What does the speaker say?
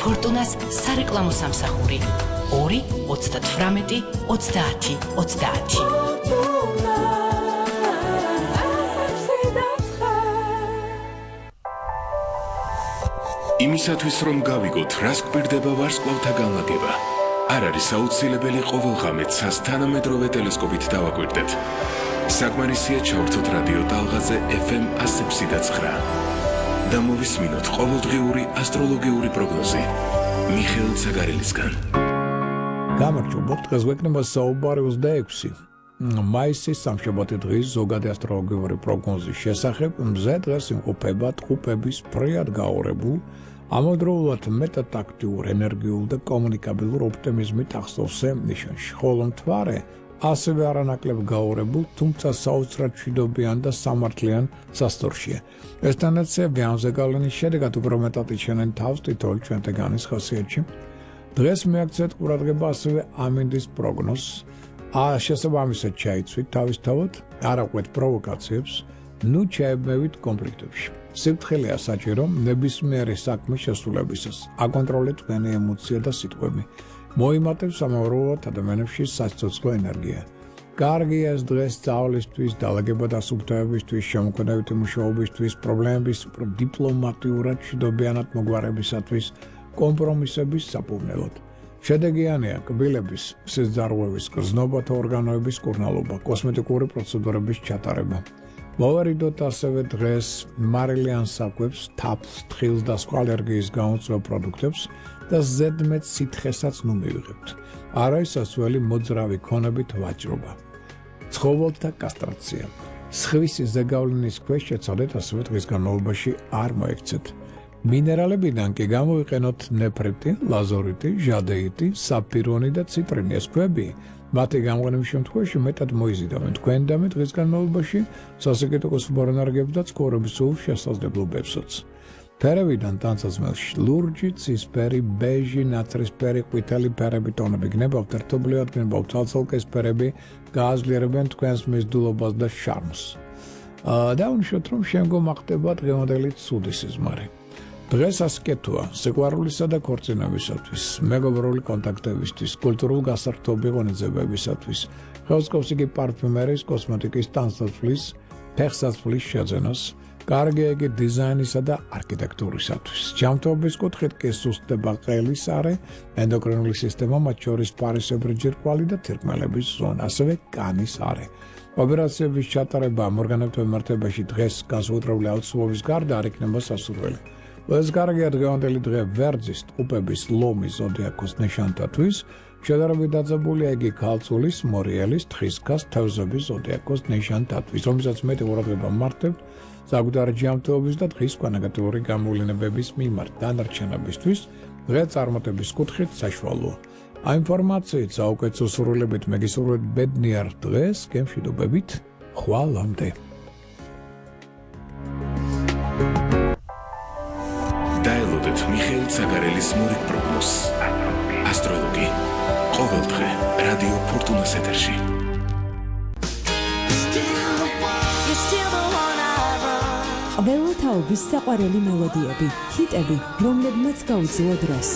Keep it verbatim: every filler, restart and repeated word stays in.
ფორტუნას სარეკლამო სამსახური ორი ოცდათვრამეტი ოცდაათი ოცდაათი. იმისათვის რომ გავიგოთ რას გვერდება ვარსკვლავთა განლაგება, არ არის აუცილებელი ყოველღამე ცას თანამედროვე ტელესკოპით დავაკვირდეთ. საკმარისია ჩავრთოთ რადიო ტალღაზე ეფ ემ ასი და ცხრა და მოვისმინოთ ყოველდღიური ასტროლოგიური პროგნოზი მიხეილ ცაგარელისგან. გამარჯობა, დღეს გვექნება საუბარი ოცდაექვსი მაისის სამშაბათი დღის ზოგადი ასტროლოგიური პროგნოზის შესახებ. მზე დღეს იმყოფება ტყუპების ფრიად გაორებულ, ამავდროულად მეტად აქტიურ, ენერგიულ და კომუნიკაბილურ ოპტიმიზმით ახსოვსე ნიშანში, ხოლო მთვარე ასევე არანაკლებ გაორებულ, თუმცა საოცრად მშვიდობიან და სამართლიან სასტორშია. ეს ტენდენცია ვიანზე გავლენის შედეგად უფრო მეტად იჩენენ თავს თითოეულ ჩვენთაგანის ხასიათში. დღეს მიაქცეთ ყურადღება ასევე ამინდის პროგნოზს. შესაბამისად ჩაიცვით თავისთავად, არ აყვეთ პროვოკაციებს, ნუ ჩაებმევით კონფლიქტებში. სიფრთხილეა საჭირო ნებისმიერი საქმის შესრულებისას. აკონტროლეთ თქვენი ემოცია და სიტყვები. მოიმატებს ამავდროულად ადამიანებში საცოცხლო ენერგია. კარგია ეს დღეს სწავლისთვის, დალაგება და სუფთავებისთვის, შემოქმედებითი მუშაობისთვის, პრობლემების დიპლომატიურად მშვიდობიანად მოგვარებისათვის, კომპრომისების საფუძვლად. შედეგიანია კბილების, სიზარღვევის, გრძნობათა ორგანოების კურნალობა, კოსმეტიკური პროცედურების ჩატარება. მოვარიდოთ ასევე დღეს მარილიან საკვებს, თაფლს, თხილს და სხვა ალერგიის გამომწვევ პროდუქტებს და ზედმეტ სითხესაც ნუ მივიღებთ. არა ისასველი მოძრავი ქონებით ვაჭრობა. ცხოველთა კასტრაცია. სხვისი ზეგავლენის ქვეშ შეცადეთ, ასევე დღის განმავლობაში არ მოექცეთ. მინერალებიდან კი გამოვიყენოთ ნეფრიტი, ლაზორიტი, ჟადეიტი, საფირონი და ციტრინი. ეს ქვები მათი გამყენების შემთხვევაში მეტად მოიზიდავენ თქვენ და მე დღის განმავლობაში სასიკეთო კოსმონარგებს და ცხოვრების სულ შესაძლებლობებსაც. ფერებიდან ტანსაცმელში ლურჯი, ცისფერი, ბეჟი, ნაცრისფერი, ყვითელი ფერები ტონები გნებავთ, ერთობლივად გნებავთ ცალცალკესფერები, გააძლიერებენ თქვენს მიზიდულობას და შარმს. დავუშვათ, რომ შემდგომ ახდება დღევანდელი ცუდი სიზმარი. დღეს ასკეთოა სიყვარულისა და ქორწინებისათვის, მეგობრული კონტაქტებისთვის, კულტურულ გასართობი ღონისძიებებისათვის, ხელსკობს იგი პარფიუმერიის, კოსმეტიკის, ტანსაცმლის, ფეხსაცმლის შეძენას, კარგია იგი დიზაინისა და არქიტექტურისათვის. ჯანმრთელობის კუთხით კი სუსტდება ყელის არე, ენდოკრინული სისტემა, მათ შორის პარისებრი ჯირკვალი და თირკმელების ზონა, ასევე კანის არე. ოპერაციების ჩატარება ორგანოებთან მიმართებაში დღეს განსაკუთრებული აუცილებლობის გარდა არ იქნება სასურველი. ეს კარგია დღევანდელი დღე ვერძის, ტყუპების, ლომის ზოდიაქოს ნიშანთათვის, შედარებით დაძაბულია იგი ქალწულის, მორიელის, თხისქას, თევზების ზოდიაქოს ნიშანთათვის, რომელსაც მეტი ყურადღება მართებთ საკუთარი ჯანმრთელობის და დღის სხვა ნეგატიური გამოვლენების მიმართ. დანარჩენებისთვის დღე წარმატების კუთხით საშუალოა. აი ინფორმაციით საუკეთესო სურვილებით მეგისურვებთ ბედნიერ დღეს, გემშვიდობებით, ხვალამდე. დაელოდეთ მიხეილ ცაგარელის მორიგ პროგნოზს. ასტროლოგი. ყოველდღე რადიო ფორტუნას ეთერში. ყველათაობის საყვარელი მელოდიები, ჰიტები, რომლებმაც გაუძლო დროს.